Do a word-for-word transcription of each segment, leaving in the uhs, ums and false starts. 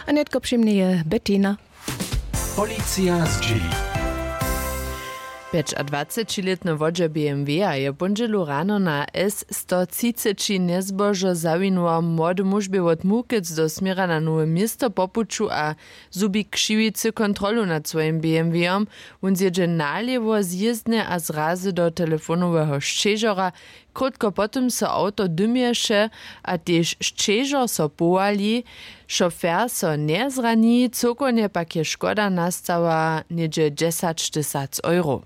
A nětko při mnje je Bettina. Policija zdźěli. Pjećadwacećilětny wodźer B M W-a je w póndźelu rano na S sto třiceći njezbožo zawinuła młody mužbě wot Muchec do směra na Nowe Město po puću a zhubi křiwicy kontrolu nad swojim B M W-om. Wón zjědźe nalěwo z jězdnje a zrazy do telefonoweho sćežora. Krótko potom so awto dymješe a tež sćežor so powali. Šofer so njezrani, cyłkownje pak je škoda nastała něhdźe dźesaćtysac euro.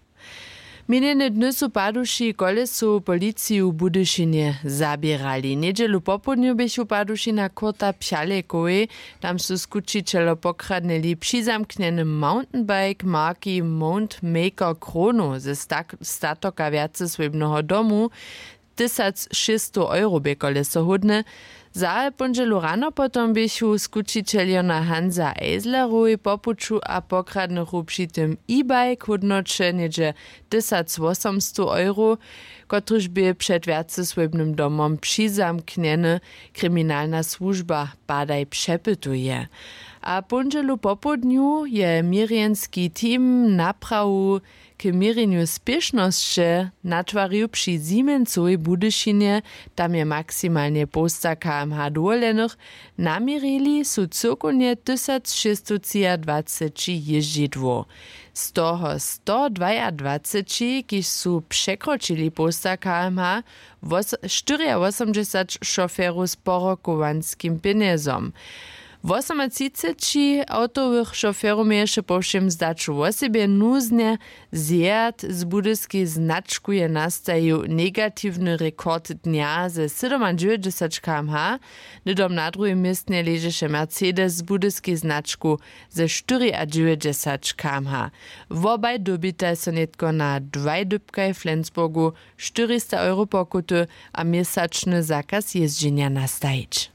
Minjene dny su paduši kolesowu policiju w Budyšinje zaběrali. Njedźelu popołdnju běchu paduši na kurta pjalejkowej. Tam su skućićelo pokradnyli přizamknjeny mountainbike marki Mountmaker Chrono ze stak- statoka wjacesłěbneho domu. Tysac šěsćstow euro bě koleso hódne. Za póndźelu rano potom běchu skućićeljo na Hansa Eislerowej po puću a pokradnychu při tym e-bike hódnoće něhdźe tysac wosomstow euro, kotryž bě před wjacesłěbnym domom přizamknjeny. Kriminalna słužba padaj přepytuje. A póndźelu popołdnju je měrjenski team naprawu k měrjenju spěšnosće natwarił při Siemensowej w Budyšinje. Tam je maksimalnje połsta K M H dowoljenych. Naměrili su cyłkownje tysac šěsćstowtřiadwaceći jězdźidłow, z toho stodwajadwaceći, kiž su překročili połsta K M H, wos- štyriawosomdźesat šoferow z porokowanskim pjenjezom. Wosomatřiceći awtowych šoferow měješe po wšěm zdaću wosebje nuznje zjad. Z budyskej značku je nastajił negatiwny rekord dnja ze sydomadźewjećdźesat K M H. Hnydom na druhim městnje ležeše Mercedes z budyskej značku ze štyriadźewjećdźesat K M H. Wobaj dyrbitaj so nětko na dwaj dypkaj w Flensburgu štyrista euro pokuty a měsačny zakaz jězdźenja nastajić.